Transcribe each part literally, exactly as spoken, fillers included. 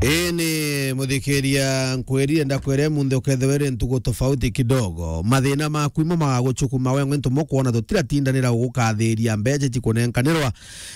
Ii ni muthikiria, nkwirire ndakwire munthi ukethirwa iri ntugu tofauti kidogo. Mathina maku imo magaguchukuma wengwe ntumo kwona tutiratindanira gugukathiria mbecha chikunenkanirwa.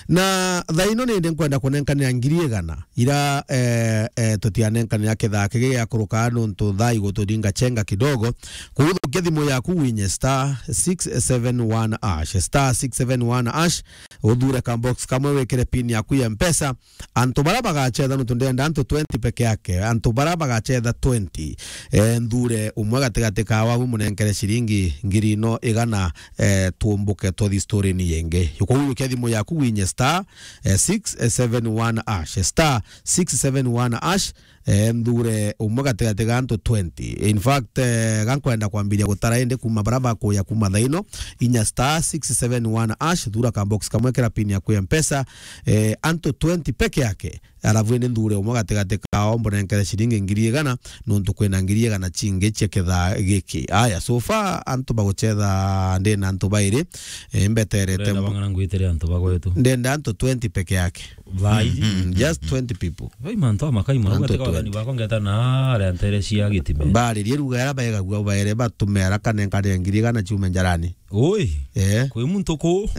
Na thaa ino nindi nkwenda kunenkanira ngiri igana. Ira, eh, eh, tutianenkanira kithaa kigi giakuruka nuntu thaa iguturinga chenga kidogo. Kuguthukia thimu yaku winye star six seven one hash, star six seven one hash, uthure ka box kamwe wikire pin yaku ya Mpesa. Antu bara bagachetha nuntu ndenda antu twenty peke yake. Antu bara bagachetha twenty, eh, nthure umwe gatigati ka wabu munenkere ciringi ngiri ino igana, eh, tuumbuke tuthi story-ini yingi. Yukuukia thimu yaku winye star, eh, six seven one hash, star six seven one hash, eh, nthure umwe gatigati ga antu twenty. In fact, eh, gankwenda kwambiria gutara indi kuma bara bakuya kuma thaa ino, inya star six seven one hash, thura ka box kamwe kira pin yaku ya Mpesa, eh, antu twenty peke yake. Alafu indi nthure umwe gatigati kao mbunenkere ciringi ngiri igana, nuntu kwina ngiri igana cingi cia kithaa giki. Aya, so far antu baguchetha ndina antu bairi, eh, mbeterete. Urenda bang'ana ngwitire antu bagwetu? Ndenda antu twenty peke yake. Vai. Mm, just twenty people. Vai mantu amakai mau. Antu gatika wathani twenty. Bakwa ngeta na aria ntere cia gitime. Baririe ruga era baegagua baere batumera kanenkane ngiri igana ciume njarani. Oi. Eh. Kwi muntu ku?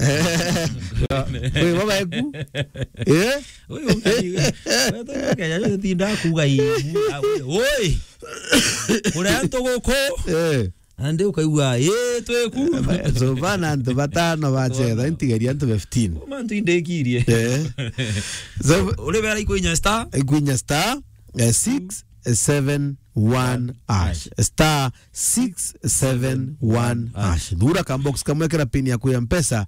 Kwi baba eku? Eh? Oi, ukari. Wetu Kenya, tinda kuga ii. Oi. Kuri antu guku? Eh. Andi ukaigua, "Ii, twiku." So, bana antu batano bachetha, intigeria antu fifteen. Mantu indikirie. Eh. So, uri bera ikwinya star? Ikwinya star, eh, six seven one hash. Star six seven one hash. Thura ka box kamwe kira pin yaku ya Mpesa,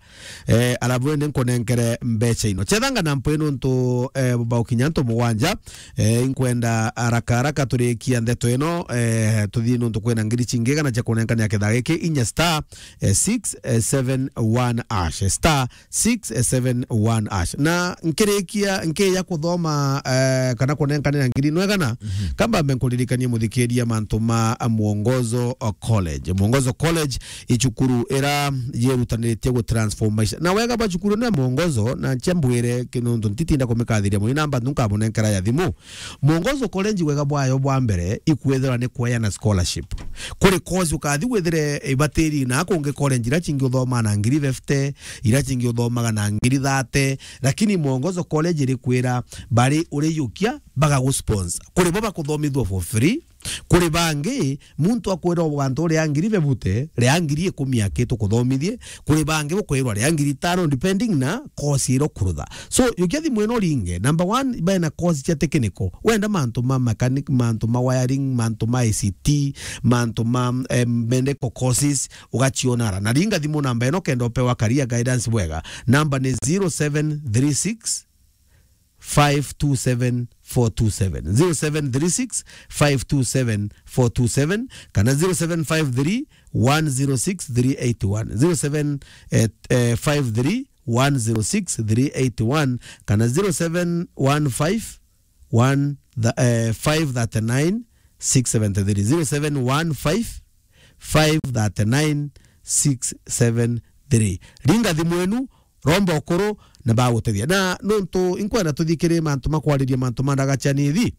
eh, alafu ende nkunenkere mbecha ino. Chethanga na mpwe nuntu, eh, baukinya antu mugwanja, eh, inkwenda haraka haraka turikia ndeto ino, eh, tuthii nuntu kwina ngiri cingi igana cia kunenkania kithaa giki, inya star, eh, six seven one hash, star six seven one hash. Na nkirikia, nkiya kuthoma, eh, kana kunenkanira ngiri ino igana, kamba mbe nkuririkanie muthikiria mantu ma Mwongozo College. Mwongozo College i cukuru ira yirutaniritie gu transform maisha. Na wega bwa cukuru ino ya Mwongozo, na nchia mbwire, ki-, nuntu ntitinda kumikathiria muno, namba nkamunenkera ya thimu. Mwongozo College wega bwayo bwa mbere ikwithirwa ni kweana scholarship. Kuri course ukathi withire ibatiri na kungi college ira cingi uthoma na ngiri fifty, ira cingi uthomaga na ngiri thirty, lakini Mwongozo College irikwira bari uriyukia bagagusponsor. Kuri bo bakuthomithua for free, kuri bangi, muntu akwira ugantu ria ngiri bebute, ria ngiri ikumi aki tukuthomithie, kuri bangi bukwirwa ria ngiri itano, depending na course ira ukurutha. So, yukia thimu ino uringe. Number one, bena course cia technical. Wenda mantu ma mechanic, mantu ma wiring, mantu ma I C T, mantu ma, em, medical courses, ugacionara. Na ringa thimu namba ino kenda upewa career guidance bwega. Namba ni zero seven three six, five two seven, four two seven. Zero seven three six, five two seven, four two seven, kana zero seven five three, one zero six, three eight one. Zero seven, eh, eh, five three, one zero six, three eight one, kana zero seven one five, one, the, eh, five thirty-nine, six seventy-three. Zero seven one five, five thirty-nine, six seven three. Ringa thimu enu, romba ukuru na bagutethia. Na nuntu inkwenda tuthikire mantu makwariria mantu ma ndagacha nithi.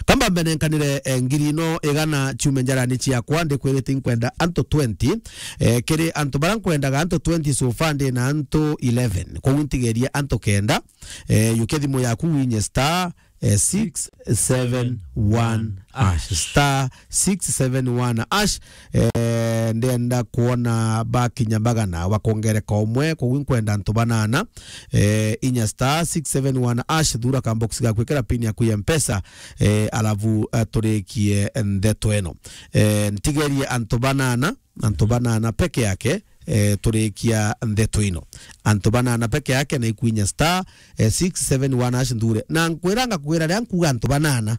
Kamba mbenenkanire, eh, ngiri ino igana ciume njarani ciakwa, ndikwirite inkwenda antu twenty. Eh, kiri antu bara nkwendaga antu twenty, so far ndi na antu eleven. Koguo ntigerie antu kenda. Eh, yukia thimu yaku winye star, eh, six seven one hash, star six seven one hash. Eh, ndenda kuona bakinya bagana bakongereka umwe, koguo nkwenda antu banana. Eh, inya star six seven one hash, thura ka box gaku, ikira pin yaku ya Mpesa, eh, alafu, eh, turikie ndeto eno. Eh, ntigerie antu banana, antu banana peke yake, eh, turikia ndeto ino. Antu banana peke yake na ikwinya star, eh, six seven one hash nthure. Na nkwira ngakwira ria nkuga antu banana,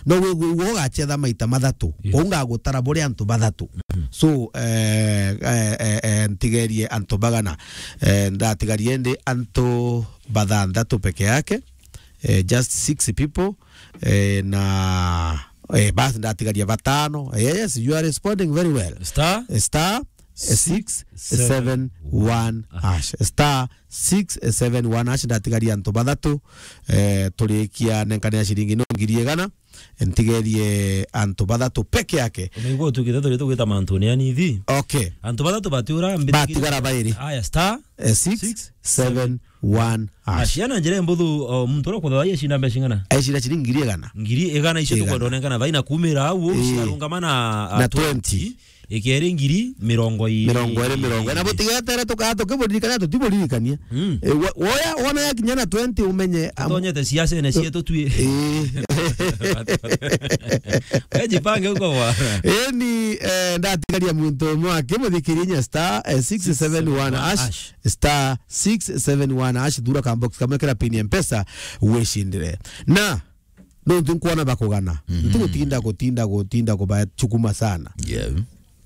no wigwe ugo ugachetha maita mathatu. Yes. Kou ngagutara buri antu bathatu. So, eh, eh, eh, eh, ntigerie antu bagana. Eh, ndatigarie ndi antu bathanthatu peke yake. Eh, just six people. Eh, na, eh, basi ndatigaria batano. Eh, yes, you are responding very well. Star? Eh, star six seven one hash. Star six seven one hash, ndatigaria antu bathatu, eh, turikia nenkane ya ciringi no ngiri igana, ntigerie antu bathatu peke yake. Unaigua tukite turi tugwita mantu ni anithi. Okay. Antu bathatu batiura mbithikire. Batigara bairi. Aya, star eh, six seven one hash. Hash, yana njira mbuthu, o, muntu uria kuthathaiya icina mbeca ing'ana? Ecina ciringi ngiri igana. Ngiri igana icio tukwenda onengana thaina kumira au, eh, cikarungama na, na twenty. Ikeri ngiri mirongo iri. Mirongo iri, mirongo iri. Na butigetere tukaa tukiburirikania, tutiburirikania. Mm. Eh, wo-, woya, wona yakinya na twenty umenye, am- Tonyete ciacene cietu twi. Eh. Wejipange huko bwana. Eni, eh, ndatigaria muntu umwe akimuthikiria inya star, eh, six seven one hash, star six seven one hash, thura ka box kamwe kira pin ya Mpesa, wicindire. Na nontu nkwona bakugana. Mhm. Ntigutinda, gutinda, gutinda kubachukuma sana. Yeah.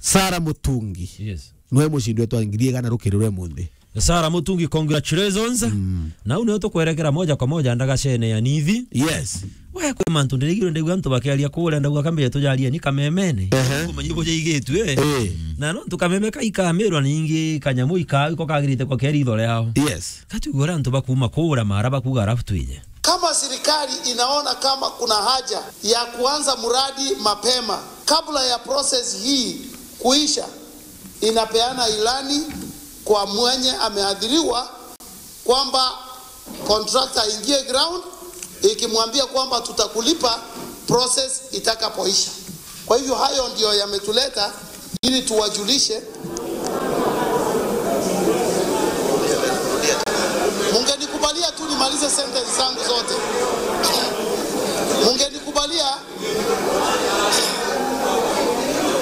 Sarah Mutungi. Yes. Niwe mucindi wetu wa ngiri igana rukiri rwe munthi. Sarah Mutungi, congratulations. Mm. Na u niwe tukwerekera moja kwa moja ndagacene ya nithi. Yes. We, kwi mantu ndirigirwe ndigua antu bakiaria kuria, ndauga kambe tujarie ni kamemene. Ehe. Kumanyi bujaigitue, eh. Eh. Na nontu kameme kaikamirwa ningi kanyamu ika-, iko kagirite kwa keritho riao. Yes. Katuigua uria antu bakuma kuria mara bakuga, alafu twije. Kama serikali inaona kama kuna haja ya kuanza mradi mapema kabla ya process hii kuisha, inapeana ilani kwa mwenye ameathiriwa kwamba contractor aingie ground, ikimwambia kwamba tutakulipa, process itakapoisha. Kwa hivyo hayo ndio yametuleta ili tuwajulishe. Mungenikubalia tu nimalize sentence zangu zote. Mungenikubalia,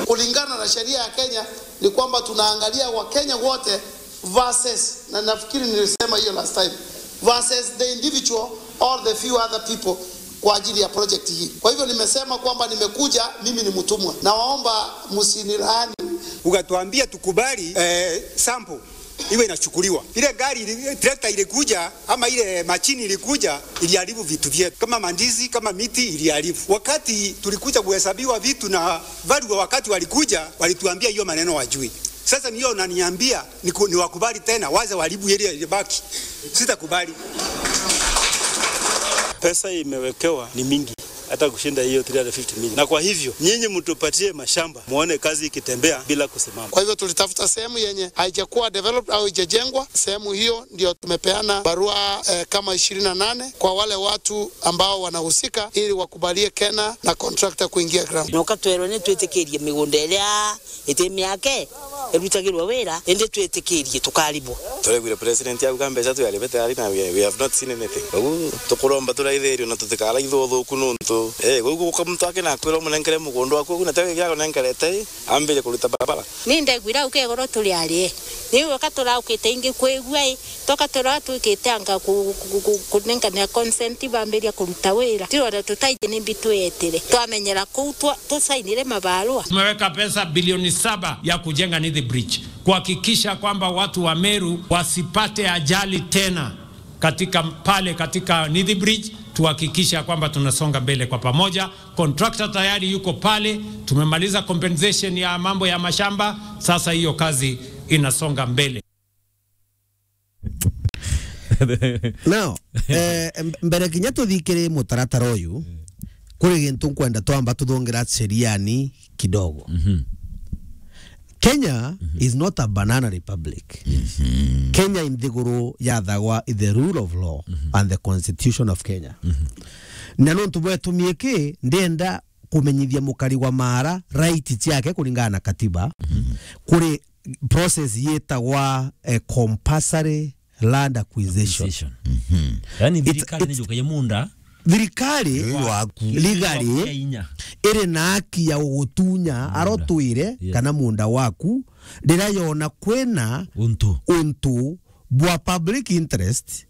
kulingana na sheria ya Kenya ni kwamba tunaangalia Wakenya wote versus, na nafikiri nilisema hiyo last time, versus the individual or the few other people kwa ajili ya project hii. Kwa hivyo nimesema kwamba nimekuja, mimi ni mtumwa. Nawaomba msinilaani. Ukatuambia tukubali, eh, sample iwe inachukuliwa. Ile gari ili-, tractor ilikuja ama ile machine ilikuja, iliharibu vitu vyetu. Kama mandizi, kama miti iliharibu. Wakati tulikuja kuhesabiwa vitu na value, wakati walikuja, walituambia hiyo maneno wajui. Sasa niyo unaniambia niku-, niwakubali tena, waze waharibu ile ilibaki. Sitakubali. Pesa imewekewa ni mingi, hata kushinda hiyo three hundred fifty million. Na kwa hivyo, nyinyi mtupatie mashamba, muone kazi ikitembea bila kusimama. Kwa hivyo tulitafuta sehemu yenye haijakuwa developed au haijajengwa. Sehemu hiyo ndio tumepeana barua, eh, kama ishirini na nane kwa wale watu ambao wanahusika ili wakubalie KeNHA na contractor kuingia ground. Na ukatwerwa ni twitikirie migunda iria iti miake irutagirwa wira, indi twitikirie tukaribwa. Turaiguire president auga mbeca tuyaribe tayari na we, we have not seen anything. Koguo tukuromba turaithirio na tutikaraithwo uthuku nuntu, eh, koguo guka muntu akina akwira umunenkere mugunda waku, koguo na tege giakunenkerete, ambire kuruta barabara. Ni ndaiguire au kegoro turi arie. Ni weka turaukite ingi kwigua i, toka tura twikite anga ku-, ku-, ku-, kunengania consent bambiria kuruta wira. Tiro na tutaiji ni mbi twetire. Twamenyera kuu twa-, tusainire mabarua. Tumeweka pesa bilioni saba ya kujenga Nithi Bridge, kuhakikisha kwamba watu wa Meru wasipate ajali tena katika pale, katika Nithi Bridge, tuhakikisha kwamba tunasonga mbele kwa pamoja. Contractor tayari yuko pale, tumemaliza compensation ya mambo ya mashamba, sasa hiyo kazi inasonga mbele. Now, eh, m-, mbere kinya tuthikire mutaratara uyu, kuri gintu nkwenda twamba tuthongera sheriani kidogo. Mhm. Kenya is not a banana republic. Mhm. Kenya i nthiguru yathagwa i the rule of law and the constitution of Kenya. Mhm. Na nontu bwetumie ki, ndenda kumenyithia mukari wa mara right ciake kuringana na katiba, kuri process yitagwa, eh, compulsory land acquisition. Acquisition. Mhm. Yani it's, thirikari it's, nijukagia munda. Thirikari legally iri na haki ya gugutunya arotwire kana munda waku riria yona kwina untu, untu bwa public interest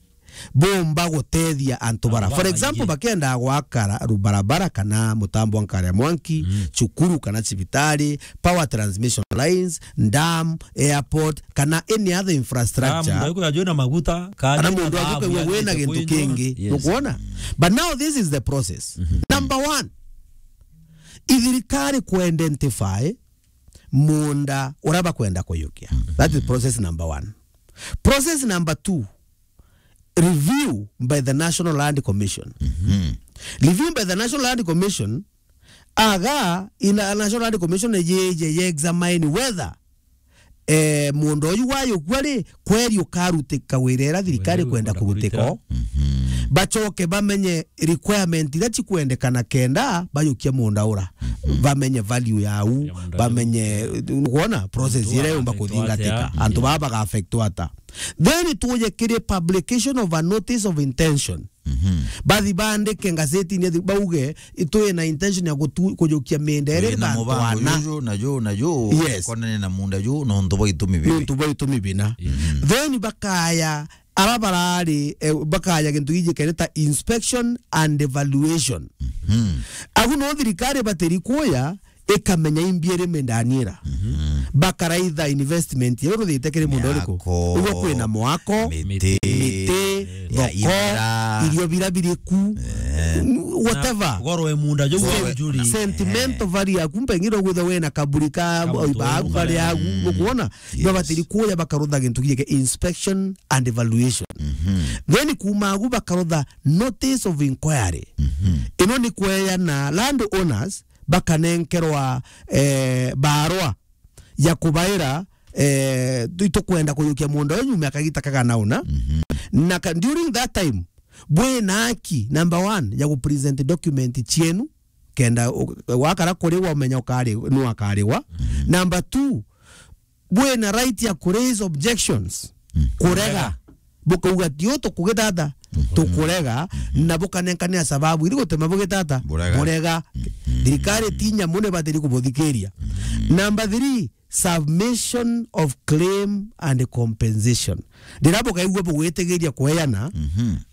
bomba gutethia antu bara. For example, bakienda gwaka ra-, ru-, barabara kana mutambo wa nkari ya mwanki, cukuru kana cibitari, power transmission lines, dam, airport, kana any other infrastructure. Kana mundu ajuke na maguta, kana mundu ajuke wina gintu kingi. Nukwona? But now this is the process. Number one, ithirikari ku identify munda uria bakwenda kuyukia. That is process number one. Process number two, review by the National Land Commission. Review by the National Land Commission, aga ina National Land Commission ye, ye, ye examine whether eh, munda uyu wayukua ri, kweri ukarutika wira ira thirikari kwenda kurutika o. Bacoke bamenye requirement iria cikwendekana kenda bayukia munda ura. Bamenye value yau, bamenye, ukwona, process iria yumba kuthingatika. Antu baba baga affectwa ata. Then tuje kiri publication of a notice of intention. Bathi bandike ngazetini, bauge, "Itwi na intention ya gutu-, kujukia mienda iri bantu ana." Juju na ju na ju, yes, konene na munda ju, nontu bwa itumi bibi. Nontu bwa itumi bina. Then bakaya, ara barari, eh, bakaya gintu giji kereta inspection and evaluation. Agu no thirikari batiri kuya, ikamenya imbi iri mindani ira. Bakaraitha investment yau ruthite kiri mundu uriku. Uguo kwina mwako, miti, miti, thoko, imera, irio bira biriku, whatever. Gorwe munda jo. Sen-, njuri. Sentimental value yaku, mpengine ugwitha wina kaburi ka oiba aku kari agu, ukuona? Yes. Babatiri kuya bakarutha gintu giki inspection and evaluation. Then kuma agu bakarutha notice of inquiry. Ino ni kweana land owners bakanenkerwa, eh, barua ya kubaira, eh, tu-, tukwenda kuyukia munda uyu nyuma ya kagita kagana una. Na ka-, during that time, bwina haki, number one, ya gupresent document cienu, kenda u-, wakara kuriwa umenya ukari-, nu akariwa. Number two, bwina right ya kuraise objections, kurega. Bukauga, "Tio, tukugitata, tukurega," na bukanenkania sababu iri gutuma bugitata, burega. Thirikari ti nyamu ni batiri kubuthikiria. Number three, submission of claim and compensation. Riria bukaigua bugwitigiria kweana,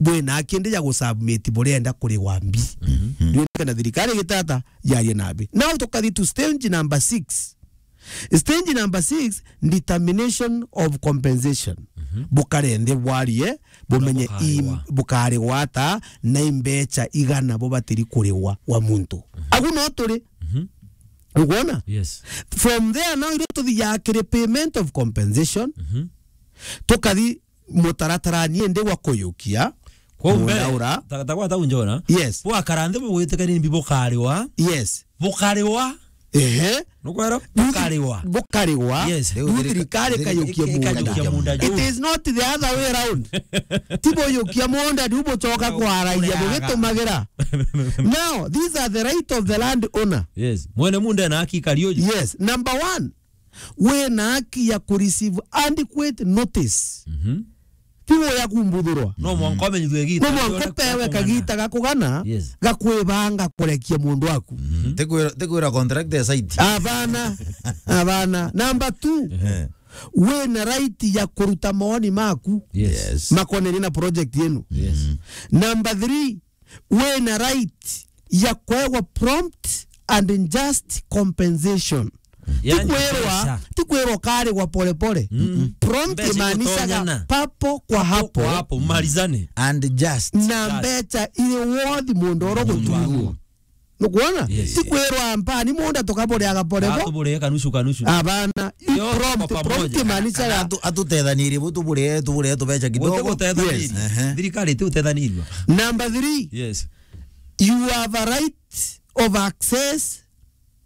bwina kindi ya gusubmit burenda kurigwa mbi. Ndio kana thirikari igitata yarie nabi. Now tukathi to stage number six. Stage number six, determination of compensation. Bukare nthi bwarie, bumenye i-, bukarigwa ata, na imbecha igana bubatiri kurigwa wa muntu. Agu no turi. Ukwona? Yes. From there now, irio tuthiaga kiri payment of compensation, tukathi mutaratara ni ndi wa kuyukia. Kwou mbere, ta, ta gwata unjona. Yes. Bwakara nthi bugwitikania ni mbi bukariwa. Yes. Bukariwa. Ehe. Nukwera? Bukariwa. Bukariwa. Yes. Riu thirikari ikayukia munda. It is not the other way around. Ti buyukia munda, riu bucoka kwaragia, bugitumagira. Now, these are the right of the land owner. Yes. Mwene munda ena haki kari uju. Yes. Number one, wina haki ya kureceive adequate notice. Ti woya kumbuthurwa. No mwanka umenyithue gita. No mwanka upewe kagita ga kugana, yes, ga kwibanga kurekia mundu waku. Tikwira, tikwira contract ya site. Abana, abana. Number two, wina right ya kuruta maoni maku. Yes. Makonene na project yenu. Yes. Number three, wina right ya kwegwa prompt and just compensation. Tikwirwa, tikwirwa karigwa pole pole. Prompt imaanishaga papo kwa hapo. Papo kwa hapo, malizane. And just. Na mbecha iri worth mundu oro gutuirwo. Nukwona? Yes. Tikwirwa mpani munda tukaburiaga pole pole. Tuburie kanusu kanusu. Abana, prompt, prompt imaanishaga atu-, atutethanirie bu tuburie, tuburie tubecha kidogo. Yes. Thirikari ti utethanirio. Number three. Yes. You have a right of access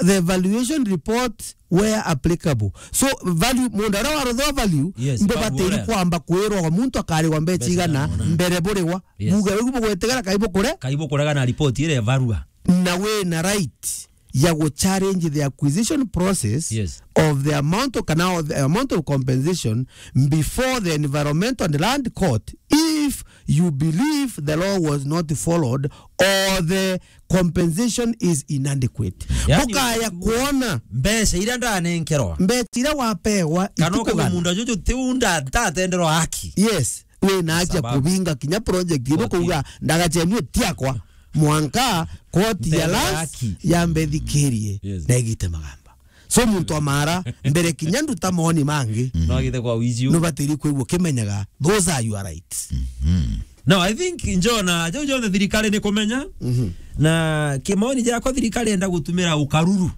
the valuation report where applicable. So, value, mundu aria warutha value, yes, mbo batiri kwamba kwirwa wa muntu akarigwa mbecha igana mbere burigwa. Yes. Buge ugu bugwetegera kai bukure? Kai bukurega na report ire barua. Na wina right ya gu challenge the acquisition process, yes, of the amount of, kana of the amount of compensation before the Environmental and Land Court if you believe the law was not followed or the compensation is inadequate. Yani, bukaya kuona mbeca iria ndanenkerwa, mbeca iria wapewa kana itikugana. Munda juju ti unda ndatenderwa haki. Yes, wina haki ya kubinga kinya project ino kuuga ndagachenue tiakwa mwanka koti ya lands yambe thikirie, yes, na igite magamba. So muntu amara mbere kinya nduta maoni mangi. No agite kwa wizi. Nubatiri kwigua kimenyaga those are your rights. No, I think njona, jau jonthe thirikari ni kumenya. Na kimaoni jakwa thirikari enda gutumira ukaruru.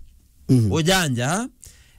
Ujanja,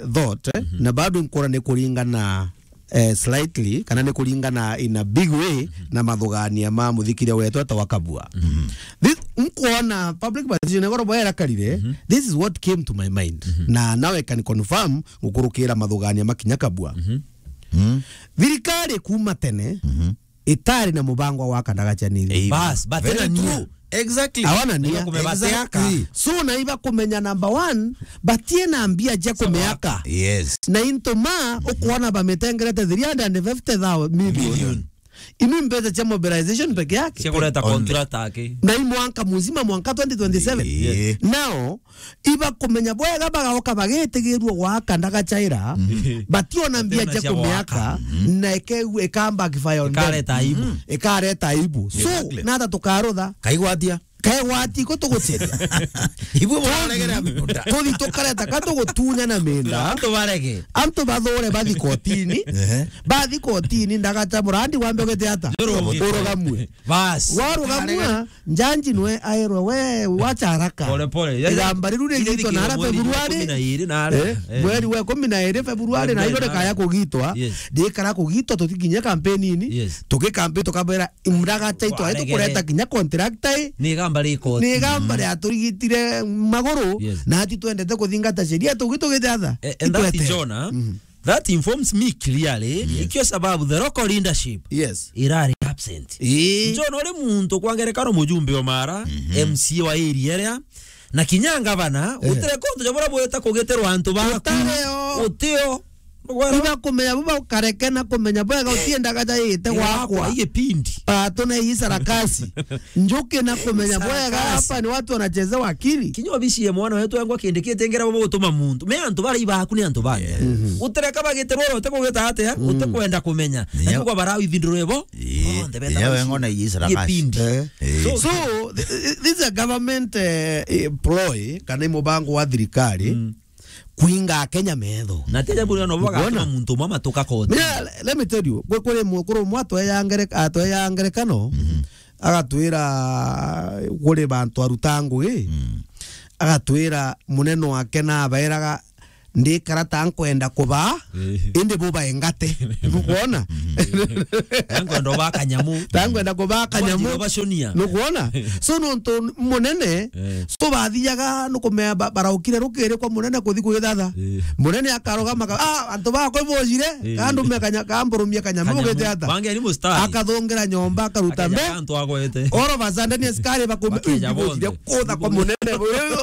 my thought, eh, na bado nkuona ni kuringana, eh, slightly, kana ni kuringana in a big way na mathugania ma muthikiria wetu etagwa Kabua. This, nkuona public participation igoro bwera karire, this is what came to my mind. Na now I can confirm gukurukira mathugania makinya Kabua. Thirikari kuma tene itari na mubango wa gwaka ndagaca ni. Bas, but very true. Exactly. Awana ni ya. Exactly. So na iba kumenya number one, batie na mbia cia kumeaka. Yes. Na into ma ukuona bamitengerete three hundred and fifty thousand million. Million. Imi mbeca cia mobilization peke yake. Cia kureta contract ake. Na i mwanka muzima, mwanka twenty twenty-seven. Ii. Yes. Nao, ibakumenya bwega, bagaoka bagitigirua gwaka ndagacaira, bationa mbia cia kumiaka, na ike-, ika backfire on them. Ikareta aibu. Ikareta aibu. So, exactly, nata tukarutha. Kaigwatia. Kaigwati ko tuguceria. Ibwe mwaregera munda. Tuthi tukareta ka tugutunya na minda. Antu barege. Antu bathure bathi kotini. Ehe. Bathi kotini, ndagaca murandi wambe ugete ata? Urugamue. Bas. Warugamua, njanji nwe aerwe we wacha haraka. Pole pole. Yaani, igamba riru rigitwa na ara Februari. Mweri wa ikumi na iri na ara. Eh, eh, mweri wa ikumi na iri Februari, na iro rikaya kugitwa. Yes. Ndikara kugitwa, tutikinye kampeni-ini. Yes. Tugikampi tukabera imraga taitwa, tukureta kinya contractor i. Ni igamba ri koti. Ni igamba ria turigitire maguru, yes, na ati twendete kuthingata sheria, tugi tugithe atha. Eh, and that, Jonah, that informs me clearly, yes, ikio sababu the local leadership, yes, irari absent. Ii. Jonah, uri muntu kwa ngerekano mujumbe wa Mara, M C A wa area iria, na kinya ngavana, eh, utireka untu ja buria bwita kugitirwa antu baku. Utareo. Utio. Iba kumenya buba ukareke na kumenya bwega utiendaga jaite gwakwa. Gwakwa, iye pindi. Ah, tuna hii sarakasi. Njuke na kumenya bwega hapa ni watu wanachezewa akili. Kinya obici ya mwana wetu yangu akindikite ngera bo gutuma muntu. Me antu bara ibaku ni antu bani. Yes. Mhm. Utireka bagitirwa ro, utikugita atia, utikwenda kumenya. Ndio. Ndio kwa barau ithinduro ebo. Ii. Bonthe beta iye baci-, wengo na iye sarakasi. Iye pindi. Eh. Eh. So, so, th-, th-, this is a government, eh, eh, ploy, kana i mubango wa thirikari. Mm. Kuinga Akenya metho. Na tija buri no bagatuma muntu umwe amatuka koti. Mina, le-, let me tell you, kwi, kuri mukuru umwe atweya ngereka-, atweya ngerekano, mhm, agatwira kuri bantu aruta ngugi, mm, agatwira munene wake nabairaga, "Ndikara ta nkwenda kubaa, eh, indi bubae ngate." Nukwona? Nkwenda ubaa kanyamu. Ta nkwenda kubaa kanyamu. Nkwenda ubaconia. Nukwona? So, nontu munene, eh, so bathiaga nukumea ba-, baraukire rukiri kwa munene kuthi kwithatha. Eh. Munene akarugama ka-, "Ah, antu bakwa ibojire, eh, kandume kanya-, kamburumie kanyamu." Kanyamu. Ugite ata? Bange ni mustari. Akathungira nyomba, akaruta mbe. Akaja antu agwete. All of a sudden, askari bakumbi-, bakeja bonthe. Ibojire kutha kwa munene,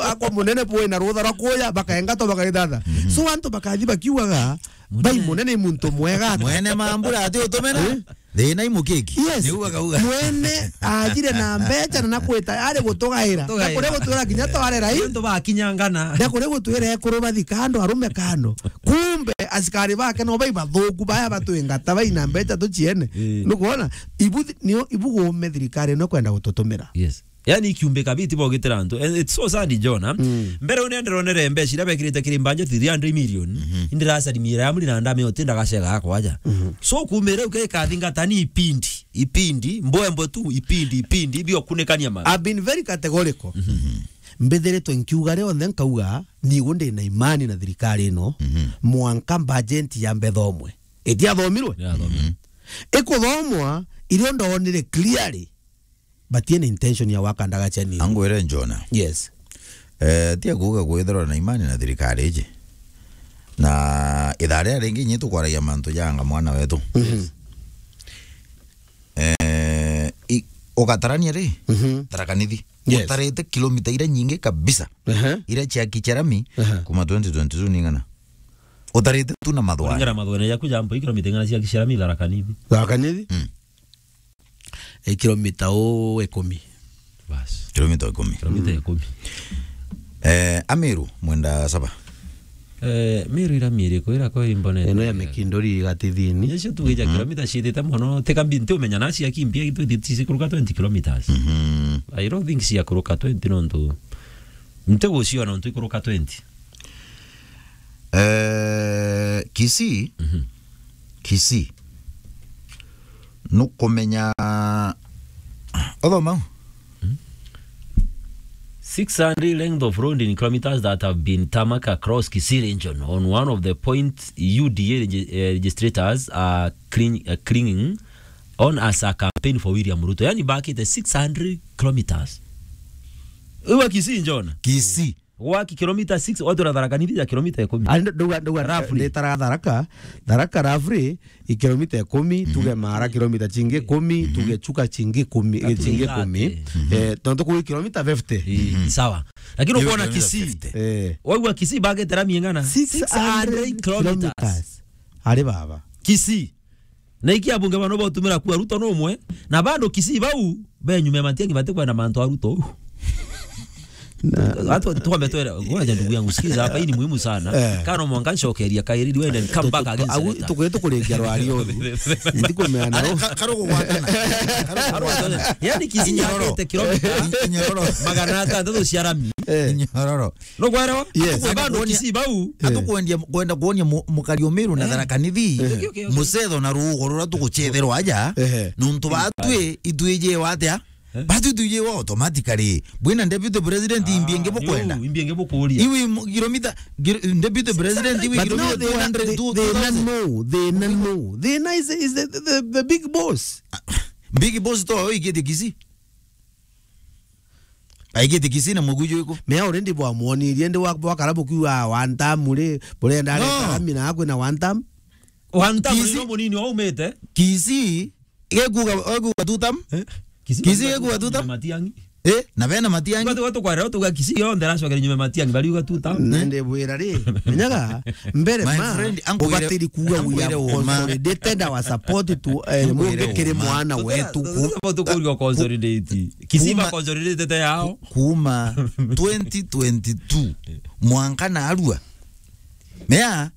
akwa munene bwina rutha rwa kuya, bakaengatwa, bakaithatha. Mhm. So, antu bakathi bakiugaga, Bai munene i muntu mwega ati. Mwene mambura ati utumena. Eh? Thina i mukiki. Yes. Niu akauga. Mwene ajire na mbeca na nakwita ari gutugaira. Gutugaira. Na kuri gutwira kinya tware rai. Antu bakinyangana. Na kuri gutwira ekuru bathi kando, arume kando. Kumbe asikari bake no bai bathuku baya batwingata bai na mbeca tuciene. Eh. Nukwona? Ibu thi-, nio, ibu gume thirikari no kwenda gututumira. Yes. Yani ikiumbika biti bogitira antu. And it's so sad, Jonah. Mm. Mbere une ndironere mbeca iria bekirite kiri mbanja three hundred million. Mhm. Indiracarimira ya muri na ndame oti ndagacega akwaja. Mhm. So kumire uke kathingata ni ipindi, ipindi, mbwembwe tu, ipindi, ipindi, bio kunikania ma. I've been very categorical. Mhm. Mbithiritwe nkiuga rionthe nkauga, nigu ndi na imani na thirikari ino, mhm, mwanka budget ya mbetha umwe. Itiathomirwe? Yathomirwe. Mhm. Ikuthomwa, irio ndonire clearly. Batiena intention ya gwaka ndagaca ni. Angwire Jonah. Yes. Eh, tia kuuga kwithirwa na imani na thirikari iji. Na ithaa riria ringi inyi tukwaragia mantu janga mwana wetu. Mhm. Eh, i-, ugatarania ri? Mhm. Tharaka Nithi. Yes. Utarite kilomita iria nyingi kabisa. Aha. Iria cia Kicharami, aha, kuma twenty twenty-two ni ng'ana? Utarite tu na mathwani. Kuringana na mathwani jaku jambo, i kilomita ing'ana cia Kicharami Tharaka Nithi? Tharaka Nithi? Mm. I kilomita u ikumi. Bas. Kilomita ikumi. Kilomita ikumi. Eh, Amiru, mwenda saba. Eh, Miru ira miri kwira kwa imbone. Ino ya Mikindori igatithini. Yesu tu gija, mhm, kilomita ciitite mono, tika mbi nti umenya na cia kimbia gitu tisi kuruka twenty kilometers. Mhm. I don't think cia kuruka twenty nontu. Nti guciona nontu ikuruka twenty. Eh, Kisii. Mhm. Kisii. Nukumenya, uthoma u? Mm. Six hundred length of road in kilometers that have been tarmac across Kisii region on one of the points U D A regi-, eh, registrators are clean-, eh, clinging on as a campaign for William Ruto. Yani bakite six hundred kilometers. Uwa Kisii, Jonah? Kisii. Gwaki kilomita six, watu na Tharaka Nithi ya kilomita ikumi. Ari ndo-, ndauga, ndauga, roughly. Nditara Tharaka, Tharaka roughly i kilomita ikumi, mhm, tuge Mara kilomita chingi ikumi, mhm, tuge Chuka chingi ikumi, eh, chingi ikumi. Thirty. Mhm. Eh, tontu kuri kilomita fifty. Eh, mhm, sawa. Lakini ukoona kilomita Kisii. Fifty. Eh. Waigua Kisii bagete rami ing'ana? Six hundred kilometers. Six hundred kilometers. Ari baba. Kisii. Na iki abunge bano botumira kuwa Ruto no umwe, na bado Kisii bau, be nyuma ya Matiang'i batikwenda mantu a Ruto. Na watu tukwambe twere, ngoja ndugu yangu, sikiza hapa, hii ni muhimu sana. Eh. Kana mwanka ncokeria kairi, wende come back again, au senator. Tukwete kuringia rwari oru. Ndikumea na ro. Ka-, karugu gwatana. Karugu gwatana. Yani Kisii Nyororo. Yakite kilomita Nyororo. Magana atandatu cia rami. Eh. Nyororo. No kwerewa? Yes. Bado Kisii bau. Eh. Atukwendia, kwenda kuonia mu-, mukari Umiru na Tharaka Nithi. Eh. Okay, okay, okay. Mucetho na ruugo ruria tugucetherwa aja. Ehe. Nuntu batwi itwije watia? Eh? Batwi twije wa automatically. Bwina deputy president imbi ingi bukwenda. Imbi ingi bukuria. Iwi mu-, kilomita, gir-, deputy president iwi kilomita two hundred, two thousand. But no, thina no, thina no. Thina is, is the, the, the big boss. Big boss to oigetie Kisii. Aigite Kisii na muguju iku. Me already bwamwonirie ndi wa, bwakara bukiuga one term ri, burenda No. Areka rami na akwina one term. One term Kisii ni no munini waumite. Kisii, gekuga, gekuga two term? Eh? Kisii gekuga two term? Matiang'i. Eh, na bena Matiang'i. Batu, batu kwarera, tuga Kisii yonthe aracokera nyuma Matiang'i, bariuga two term. Na ndibwira ri, menyaga, Mbere My ma, friend, ankwire, ubatiri kuuga we ankwire have uma. Consolidated our support to, eh, Ankwire mungi kiri uma. Mwana wetu. Tuta-, tuta-, tukuria consolidate. Kisii ba Kuma, consolidate te yao. Kuma twenty twenty-two, mwanka narua. Mea,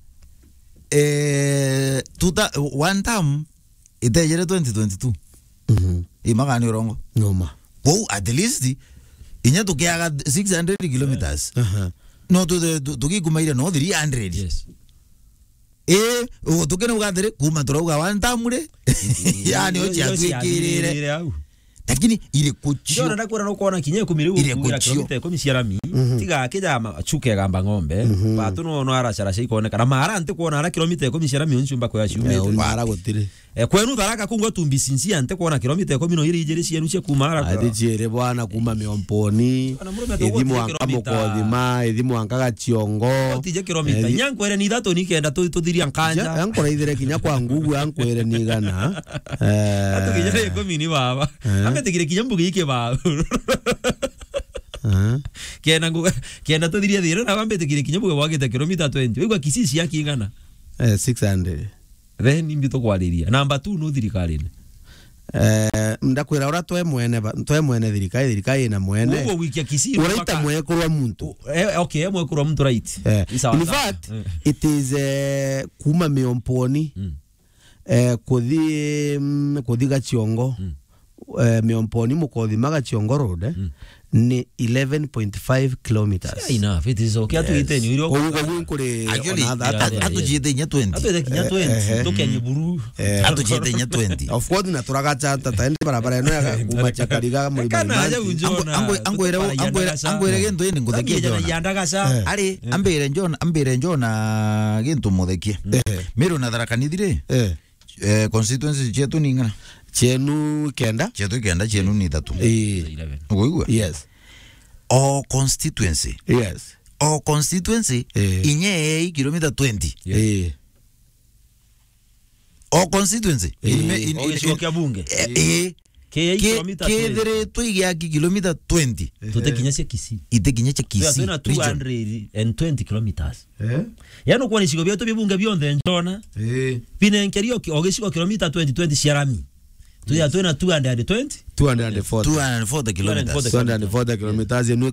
eh, tuta-, one term, itejere twenty twenty-two. Mhm. Imagani urongo. Noma. Kwou, at least, inya tukiaga six hundred kilometers. Aha. No tu-, tu-, tukikumaire no three hundred. Yes. Eh, u-, tukene ugathire, kuma turauga one term ri. Yani, yo ciatwikirire. Ciathirire au. Lakini iriku cio? Ndona ndakwira no kuona kinya ikumi riu iriku ukugira cio? Kilomita ikumi cia rami. Mhm. Tiga akija ma-, chuke gamba ng'ombe. Mhm. Batu no, no aracaraca ikoneka. Na mara nti kuona ara kilomita ikumi cia rami unciumba kwa ciumite. Eh, mara gutiri. Eh, kwenu Tharaka kungwa tumbi sinci ante kuona kilomita ikumi no iri ijiri cienu cia kuma ara. Ati ciere bwana kuma Miomponi. Bwana murume ithi tuguti mwanka kilomita. Mukothima, ithi mwanka Gaciongo. Utije kilomita. Eh, inya nkwere ni ithatu ni kenda tu-, tuthiria nkanja. Ja, ankoraithire kinya kwa ngugu, ankwere ni igana. Eh. Atu kinya ikumi ni baba. Eh. Ametikire kinya mbugi iki baba. Eh. Kenda ngu-, kenda tuthirie thire na bambetikire kinya mbugi bwagite kilomita twenty. Wigwa Kisii cia kingana? Eh, six hundred. Then imbi tukwariria. Number two no thirikarine. Eh, ndakwira ura twe mwene ba-, twe mwene thirikari, thirikari ina mwene. Uguo gwikia Kisii uraita mpaka mwekurwa muntu. U-, eh, okay, eh, mwekurwa muntu, right. Eh, ni sawa, in sawa. Fact, eh, it is, eh, kuma Miomponi, mm, eh, kuthi, mm, kuthi Gaciongo. Mm. Eh, Miomponi Mukothima Gaciongo Road, eh, mm, ni eleven point five kilometers. Fair enough, it is okay. Yes. Atu iteni, uri. Koguo, koguo nkuri. Actually, ona that atu-, yeah, yeah, atu yeah. Atujite inya twenty. Atu ite kinya twenty, eh, eh, tukenye buru. Eh. Atujite inya twenty. Of course, na turagacha tata, ende barabara ino ya kuma Chakariga, Murima. Kana aja Imanzi. Unjona, angwe-, angwere, tutwara angwere, yandagaca. Angwere gintu ini nguthekie. Angwere Jona. Yandagaca. Eh. Ari, eh, ambire Jona, ambire Jona gintu muthekie. Eh. Miru na Tharaka Nithi ri? Eh. Eh, constituency cietu ni ing'ana? Cienu kenda? Cietu kenda, cienu ni ithatu. Ii. Uguigua? Yes. O constituency. Yes. O constituency, eh, inya ii kilomita twenty. Yes. Ii. O constituency. Ii. Ime-, in-, o in-, gicigo in-, kia bunge. Eh, ii. Ki-, kilomita twenty. Kithiritwe igiaki kilomita twenty. Tutikinya cia Kisii. Itikinya cia Kisii. Twina region. Two hundred and twenty kilometers. Eh? Yaani, ukwona icigo bietu bibunge bionthe njona. Eh. Binenkerio ki-, o gicigo kilomita twenty, twenty cia rami. Tuya twina two hundred and twenty? Two hundred and forty. Two hundred and forty kilometers. Two hundred and forty kilometers. Enu